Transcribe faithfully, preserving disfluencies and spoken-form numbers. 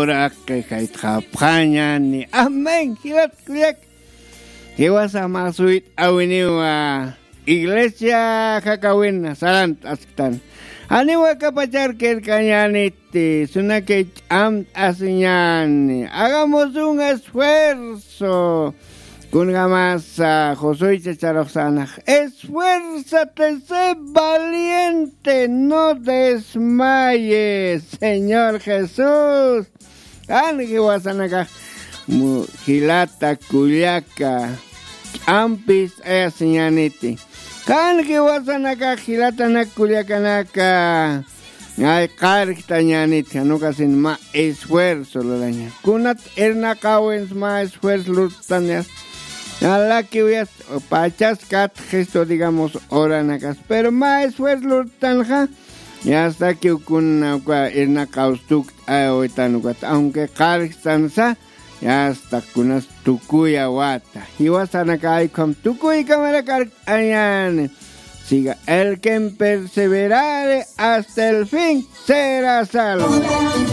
Uraqi jaytxapxañani. Amén, jilat kullak. Jiwasa masuyt'awiniwa. Iglesia jakawina sarant asktan. Janiwa kapachar kirkañaniti, sunaki ch'amt'asiñani. Hagamos un esfuerzo. Kunjamasa Josué chacharuxsanax. Esfuérzate, sé valiente, no desmayes, Señor Jesús. Kan jiwasanakax mu-, jilata kullaka ch'ampist'ayasiñaniti. Kan jiwasanakax jilatanak kullakanaka. Ay, qarjtañanit, jan ukasin mä esfuerzo luraña. Kunat irnaqawins mä esfuerzo lurtanias. Alakiw yast pachas katxistu, digamos, oranakas. Pero mä esfuerzo lurtanxa, yastakiw kuna uka irnaqaw stuk'awitan ukat. Aunque qarjtansa, yasta kunas tukuyawata. Jiwasanaka ay ukham tukuy kamara kark añani. Siga el que perseverare hasta el fin será salvo.